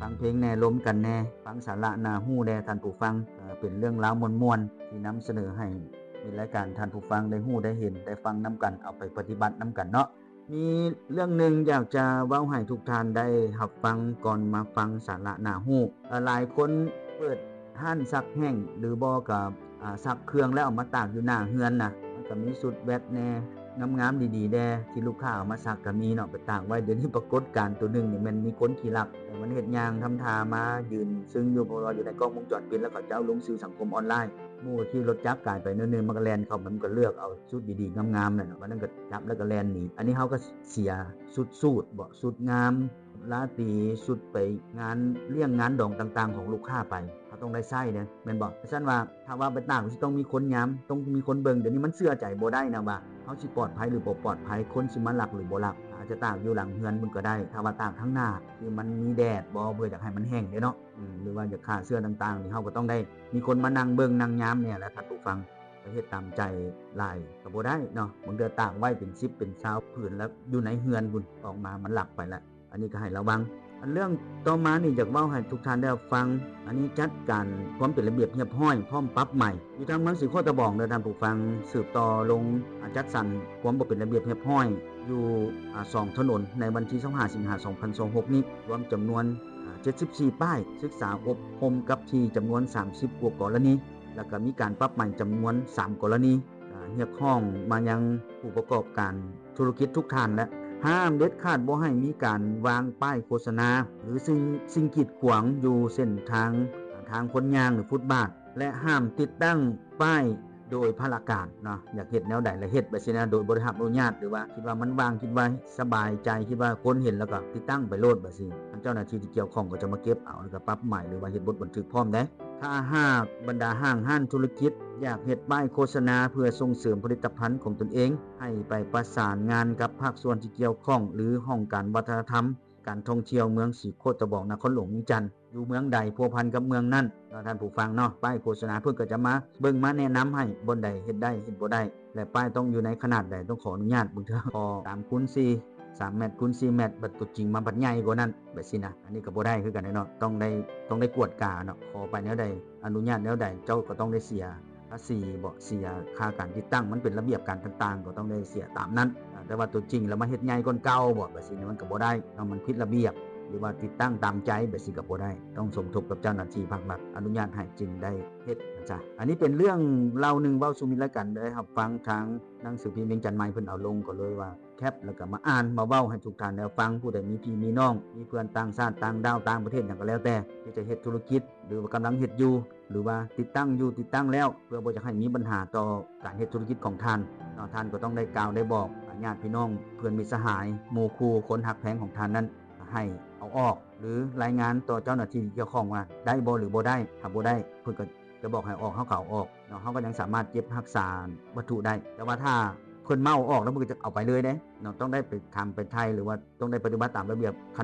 ຟັງເພງແດ່ ລົມກັນແດ່ ຟັງສາລະໜ້າຮູ້ແດ່ທ່ານຜູ້ຟັງ. ເປັນເລື່ອງລາວມ່ວນໆ ທີ່ນຳສະເໜີໃຫ້ມີລາຍການທ່ານຜູ້ຟັງໄດ້ຮູ້ໄດ້ເຫັນໄດ້ຟັງນຳກັນ ເອົາໄປປະຕິບັດນຳກັນເນາະ. ມີເລື່ອງໜຶ່ງຢາກຈະເວົ້າໃຫ້ທຸກທ່ານໄດ້ຮັບຟັງ ກ່ອນມາຟັງສາລະໜ້າຮູ້. ຫຼາຍຄົນເປີດຮ້ານຊັກແຫ້ງ ຫຼືບໍ່ກໍຊັກເຄື່ອງແລ້ວເອົາມາຕາກຢູ່ໜ້າເຮືອນນະ ມັນກໍມີຊຸດແວັດແດ່ ງາມໆ ດີໆ ແດ່ ທີ່ລູກຄ້າເອົາມາຊັກກໍມີເນາະ ໄປຕາກໄວ້. ດຽວນີ້ປາກົດການໂຕໜຶ່ງນີ້ແມ່ນມີຄົນຂີ້ລັກ ມັນເຮັດຍ່າງທຳທ່າມາຢືນຊຶ່ງຢູ່ ເພາະວ່າຢູ່ໃນກ້ອງວົງຈອນປິດ ແລ້ວເຂົາເຈົ້າລົງສື່ສັງຄົມອອນລາຍ. ໝູ່ຂີ່ລົດຈັກກາຍໄປໜ້ອຍໜຶ່ງ ມັນກໍແລ່ນເຂົ້າ ມັນກໍເລືອກເອົາຊຸດດີໆ ງາມໆ ນັ້ນນະ ມັນກໍຈັບແລ້ວກໍແລ່ນໜີ. ອັນນີ້ເຮົາກໍເສຍຊຸດສູດເບາະ ຊຸດງາມ ລາຕີ ຊຸດໄປງານລ້ຽງງານດອງຕ່າງໆ ຂອງລູກຄ້າໄປ ເຮົາຕ້ອງໄດ້ໃຊ້ເດ້ ແມ່ນບໍ່? ຊັ້ນວ່າ ຖ້າວ່າໄປຕາກ ຊິຕ້ອງມີຄົນຍາມ ຕ້ອງມີຄົນເບິ່ງ. ດຽວນີ້ມັນເຊື່ອໃຈບໍ່ໄດ້ນະວ່າ ເຮົາຊິປອດໄພ ຫຼືບໍ່ປອດໄພ ຄົນຊິມາລັກ ຫຼືບໍ່ລັກ. ອາດຈະຕາກຢູ່ຫຼັງເຮືອນພຸ້ນກໍໄດ້ ຖ້າວ່າຕາກທາງໜ້າ ຄືມັນມີແດດບໍ່ ເພື່ອຢາກໃຫ້ມັນແຫ້ງເດ້ເນາະ ຫຼືວ່າຢາກຂ້າເຊື້ອຕ່າງໆ ນີ້ເຮົາກໍຕ້ອງໄດ້ມີຄົນມານັ່ງເບິ່ງນັ່ງຍາມແດ່ແຫຼະທ່ານຜູ້ຟັງ. ໄປເຮັດຕາມໃຈຫຼາຍກໍບໍ່ໄດ້ເນາະ ບາງເທື່ອຕາກໄວ້ເປັນສິບເປັນຊາວຜືນ ແລ້ວຢູ່ໃນເຮືອນພຸ້ນ ອອກມາມັນລັກໄປແລ້ວ. ອັນນີ້ກໍໃຫ້ລະວັງ. ອັນເລື່ອງຕໍ່ມານີ້ ຢາກເວົ້າໃຫ້ທຸກທ່ານໄດ້ຮັບຟັງ. ອັນນີ້ຈັດການຄວາມເປັນລະບຽບຮຽບຮ້ອຍ ພ້ອມປັບໃໝ. ຢູ່ທາງເມືອງສີໂຄດຕະບອງເດີທ່ານຜູ້ຟັງ ສືບຕໍ່ລົງ ອາ ຈັດສັນຄວາມບໍ່ເປັນລະບຽບຮຽບຮ້ອຍ ຢູ່ ອາ ສອງຖະໜົນ ໃນວັນທີຊາວຫ້າ ສິງຫາ ສອງພັນຊາວຫົກນີ້ ລວມຈຳນວນ ອາ ເຈັດສິບສີ່ປ້າຍ, ສຶກສາອົບຮົມກັບທີ່ຈຳນວນສາມສິບກວ່າກໍລະນີ ແລ້ວກໍມີການປັບໃໝຈຳນວນສາມກໍລະນີ. ອາ ຮຽກຮ້ອງມາຍັງຜູ້ປະກອບການທຸລະກິດທຸກທ່ານ ແລະ ຫ້າມເດັດຂາດບໍ່ໃຫ້ມີການວາງປ້າຍໂຄສະນາ ຫຼື ສິ່ງ ສິ່ງກີດຂວາງຢູ່ເສັ້ນທາງ ອາ ທາງຄົນຍ່າງ ຫຼື ຟຸດບາດ ແລະ ຫ້າມຕິດຕັ້ງປ້າຍໂດຍພະລະການເນາະ. ຢາກເຮັດແນວໃດລະເຮັດ ແບບຊີ້ນະ ໂດຍບໍ່ໄດ້ຮັບອະນຸຍາດ ຫຼືວ່າຄິດວ່າມັນວ່າງ ຄິດວ່າສະບາຍໃຈ ຄິດວ່າຄົນເຫັນແລ້ວກໍຕິດຕັ້ງໄປໂລດ ແບບຊີ້. ທາງເຈົ້າໜ້າທີ່ທີ່ກ່ຽວຂ້ອງກໍຈະມາເກັບເອົາ ແລ້ວກໍປັບໃໝ ຫຼືວ່າເຮັດບົດບັນທຶກພ້ອມເດ້. ຖ້າຫາກບັນດາຫ້າງຮ້ານທຸລະກິດຢາກເຮັດປ້າຍໂຄສະນາເພື່ອສົ່ງເສີມຜະລິດຕະພັນຂອງຕົນເອງ ໃຫ້ໄປປະສານງານກັບພາກສ່ວນທີ່ກ່ຽວຂ້ອງ ຫຼື ຫ້ອງການວັດທະນະທຳ ການທ່ອງທ່ຽວເມືອງສີໂຄດຕະບອງ ນະຄອນຫຼວງວຽງຈັນ ຢູ່ເມືອງໃດພົວພັນກັບເມືອງນັ້ນເນາະທ່ານຜູ້ຟັງເນາະ. ປ້າຍໂຄສະນາເພິ່ນກໍຈະມາເບິ່ງມາແນະນຳໃຫ້ ບ່ອນໃດເຮັດໄດ້ເຮັດບໍ່ໄດ້ ແລະ ປ້າຍຕ້ອງຢູ່ໃນຂະໜາດໃດ ຕ້ອງຂໍອະນຸຍາດ. ບາງເທື່ອຂໍສາມຄູນສີ່ ສາມແມັດຄູນສີ່ແມັດ ບັດຕົວຈິງມາບັດໃຫຍ່ກວ່ານັ້ນ ແບບຊີ້ນະ. ອັນນີ້ກໍບໍ່ໄດ້ຄືກັນເນາະ ຕ້ອງໄດ້ ຕ້ອງໄດ້ກວດກາເນາະ ຂໍໄປແນວໃດ ອະນຸຍາດແນວໃດ ເຈົ້າກໍຕ້ອງໄດ້ເສຍພາສີເບາະ ເສຍຄ່າການຕິດຕັ້ງ ມັນເປັນລະບຽບການຕ່າງໆ ກໍຕ້ອງໄດ້ເສຍຕາມນັ້ນ. ອາ ແຕ່ວ່າຕົວຈິງແລ້ວມາເຮັດໃຫຍ່ກ່ອນເກົ່າເບາະ ແບບຊີ້ມັນກໍບໍ່ໄດ້ເນາະ ມັນຜິດລະບຽບ ຫຼືວ່າຕິດຕັ້ງຕາມໃຈ ແບບຊີ້ກໍບໍ່ໄດ້ ຕ້ອງສົມທົບກັບເຈົ້າໜ້າທີ່ພາກລັດອະນຸຍາດໃຫ້ຈຶ່ງໄດ້ເຮັດນະຈະ. ອັນນີ້ເປັນເລື່ອງເລົ່າໜຶ່ງເວົ້າສູ່ມິດລາຍການໄດ້ຮັບຟັງ ທາງໜັງສືພິມວຽງຈັນໃໝ່ເພິ່ນເອົາລົງ ກໍເລີຍວ່າ ແຄບ ແລ້ວກໍມາອ່ານມາເວົ້າໃຫ້ທຸກທ່ານໄດ້ຟັງ ຜູ້ໃດມີພີ່ມີນ້ອງ ມີເພື່ອນຕ່າງຊາດຕ່າງດາວ ຕ່າງປະເທດຫຍັງກໍແລ້ວແຕ່ ທີ່ຈະເຮັດທຸລະກິດ ຫຼືວ່າກຳລັງເຮັດຢູ່ ຫຼືວ່າຕິດຕັ້ງຢູ່ ຕິດຕັ້ງແລ້ວ ເພື່ອບໍ່ຢາກໃຫ້ມີບັນຫາຕໍ່ການເຮັດທຸລະກິດຂອງທ່ານເນາະ ທ່ານກໍຕ້ອງໄດ້ກ່າວໄດ້ບອກຍາດພີ່ນ້ອງ ເພື່ອນມິດສະຫາຍ ໝູ່ຄູ່ ຄົນຮັກແພງຂອງທ່ານນັ້ນ ໃຫ້ເອົາອອກ ຫຼືລາຍງານຕໍ່ເຈົ້າໜ້າທີ່ທີ່ກ່ຽວຂ້ອງວ່າໄດ້ບໍ່ ຫຼືບໍ່ໄດ້. ຖ້າບໍ່ໄດ້ ເພິ່ນກໍຈະບອກໃຫ້ອອກ ເຮົາກໍເອົາອອກເນາະ ເຮົາກໍຍັງສາມາດເກັບຮັກສາວັດຖຸໄດ້. ແຕ່ວ່າຖ້າເພິ່ນເມົາເອົາອອກແລ້ວ ເພິ່ນກໍຈະເອົາໄປເລີຍເດ້ເນາະ ຕ້ອງໄດ້ໄປຖາມໄປໄຖ່ ຫຼືວ່າຕ້ອງໄດ້ປະຕິບັດຕາມລະບຽບຂັ້ນ